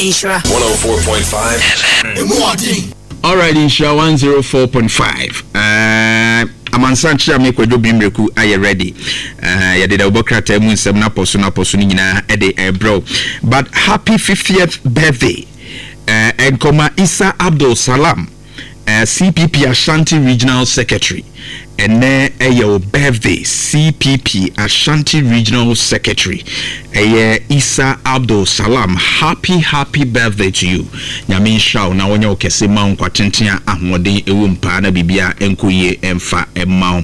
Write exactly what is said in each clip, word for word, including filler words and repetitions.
Nhyira one oh four point five F M. Alright, Nhyira one oh four point five. Uh, amansan kyerɛ me Kwadwo Bimreku ayɛ ready. uh, yɛde da wobɔ krataa mu nsɛm no apɔ so no apɔ so no nyinaa ɛde ɛbrɛw, but happy fiftieth birthday uh, nkɔma Isa Abdul Salam, uh, C P P Ashanti Regional Secretary. Ɛnɛ ɛyɛ wo birthday. C P P Ashanti Regional Secretary ɛyɛ Isa Abdul Salam, happy happy birthday to you. Nyame nhyira wo na wɔnyɛ wo kɛse, ma wo nkwa tenten a ahoɔden ɛwɔ mu paa, na biribia ɛnkɔ yie ɛmfa ɛma wo.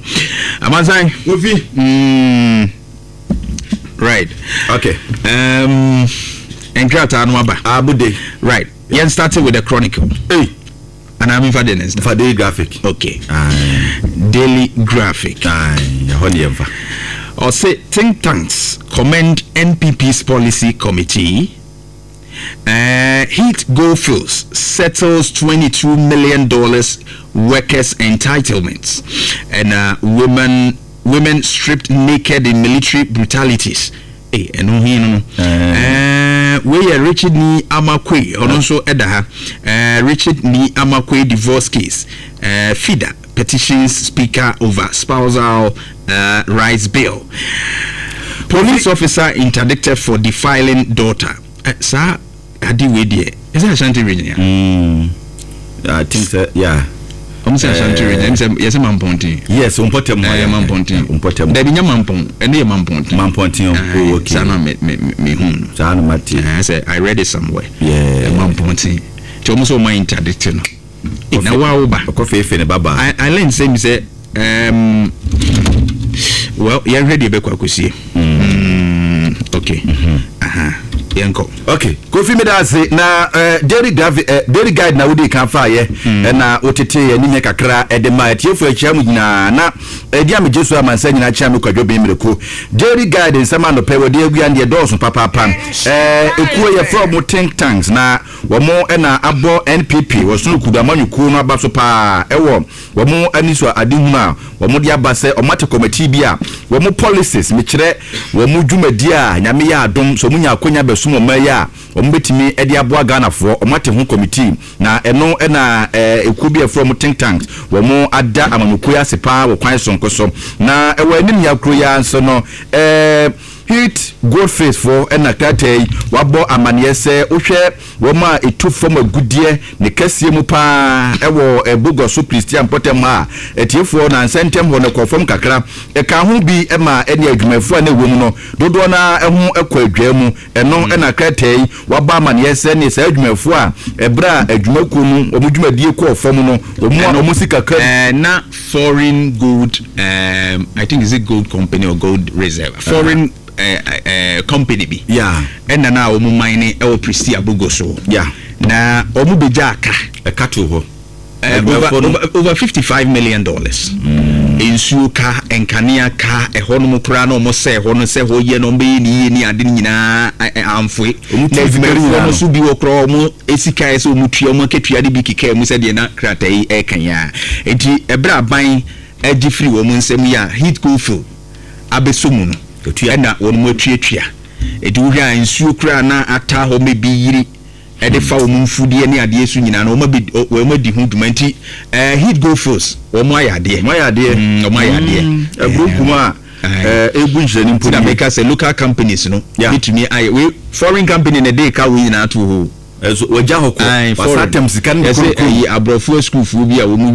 Amansan. Kofi. mm, right Okay. um, nkrataa no aba. Abude. Right, yɛn start with the Chronicle. Hey. Anaa memfa de ne nsa? Fa Daily Graphic. Okay. Aye. Daily Graphic. Aye. Ɛhɔ ne yɛmfa. Ɔse think tanks commend N P P's policy committee. Uh, Heat Goldfields settles twenty-two million dollars workers' entitlements, and uh, women women stripped naked in military brutalities. Hey, ɛno hi no no uh, wei yɛ Richard Nii Armah Quaye, ɔno nso ɛda ha. uh, Richard Nii Armah Quaye divorce case, uh, FIDA petitions speaker over spousal uh, rights bill. Police officer interdicted for defiling daughter. uh, saa ade wei deɛ, ɛsɛ Ashanti Region ya? Mm. I think so, yeah. Ɔmo sɛ Ashanti Region, ɛm sɛ yɛsɛ Mampɔnten. Yes, Mpɔtam hɔ. Ɛyɛ Mampɔnten. Mpɔtam. Dabi, nyɛ Mampɔn, ɛno yɛ Mampɔnten. Mampɔnten. Oh, okay. Saa na me me me hu no. Saa na mate. Ɛɛ sɛ I read it somewhere. Yeah. Mampɔnten nti ɔmo sɛ ɔmo interdict no. Eh, na wa wo ba. Ɔkɔ feefe ne baba. I I learn sɛ mi sɛ um, well, yɛnhwɛ deɛ ɛbɛkɔ akɔsie. Mm, okay. Aha. Yɛnkɔ. Okay, Kofi, mi da ase na uh, daily graphic, uh, Daily Guide na wodi kan fa yɛ, ɛna wotete yɛ anim yɛ kakra ɛde ma atiefo akyia mu nyinaa na ɛdi a megye so amansa nyinaa kyia me Kwadwo Ben Mmireko. Daily Guide nsɛm anɔpɛ wɔde agua deɛ dɔɔso papaapa. ɛɛ ekuo yɛfrɛ wɔn think tanks na wɔn ɛna abɔ N P P wɔsono kudu amanyɔkuo no aba so paa, ɛwɔ wɔn ani so adehunu a wɔn de aba sɛ wɔn ate committee bi a wɔn policies, mekyerɛ wɔn dwumadi a Nyame yɛ adom sɛ wɔn nya akonya bɛsom wɔn yi a wɔn bɛtumi de aboa Ghanafoɔ. Wɔn ate ho committee na ɛno ɛna ɛɛ ekuo bi a ɛfrɛ wɔn think tanks, wɔn ada amanyɔkuo yi ase paa wɔ kwan sonko so. Na ɛwɔ anim yɛ akuro yi ara nso no, ɛɛ Heat Goldfields foɔ ɛna krataa yi wabɔ amaneɛ sɛ wohwɛ wɔn a ɛtu fam agudeɛ ne kɛseɛ mu paa ɛwɔ ɛbogɔ so Prestea mpɔtam a atiefoɔ na nsɛntɛm hɔ no kɔ fam kakra. Ɛka ho bi ma ɛne adwumayɛfoɔ a na ɛwɔ mu no dodoɔ no ɛho ɛkɔ adwaa mu. Ɛno ɛna krataa yi wabɔ amaneɛ sɛ ne saa adwumayɛfoɔ a ɛberɛ a adwumakuo no wɔn dwumadie kɔɔ fam no, wɔn a wɔn si kakra. Uh, na foreign gold, um, I think, is it gold company or gold reserve, foreign uh, uh, company bi Yeah. ɛna na wɔn mine ɛwɔ Prestea Abogo so Yeah. na wɔn bɛgya aka. Ɛka to hɔ. uh, over, over, over fifty-five million dollars. Nsuo ka, nkanea ka, ɛhɔ nom koraa na ɔmo sɛ ɛhɔ no sɛ ɛhɔ yɛ na ɔmo bɛyɛ ne yie ne ade no nyinaa ɛ- ɛ- amfoe. Ɔmo na tu sika no adwumayɛfoɔ nyinaa no no. so bi wɔ koraa, ɔmo esika yɛ sɛ ɔmo tua ɔmo akatua de bi keka mu sɛdeɛ na krataa yi ɛɛka yi a, eti ɛbrɛ aban agye firi wɔn nsam yi a Heat Goldfield abɛsɔ mu no Atua. ɛna wɔn mo atuatua. Eti wohwɛ a, nsuo koraa na ata hɔ mɛ bi yiri ɛde fa wɔn mfudeɛ ne adeɛ so nyinaa no, wɔn abɛ wɔn adi ho dwuma. Nti ɛɛ Heat Goldfields, wɔn ayɛ adeɛ. Wɔn ayɛ adeɛ. Mm, wɔn ayɛ adeɛ. Ɛburo kum a Ɛɛ. ɛɛ egu nhyɛn mpo. Ti na meka sɛ local companies no Yeah. betumi ayɛ wei. Foreign company na ɛde ka wei nyinaa to hɔ. Ɛso wɔgya hɔ Aye, kɔ wasa foreign. tɛm sika no Yɛsɛ kurokuro. ɛyi aborɔfoɔ sukuufoɔ bi a wɔn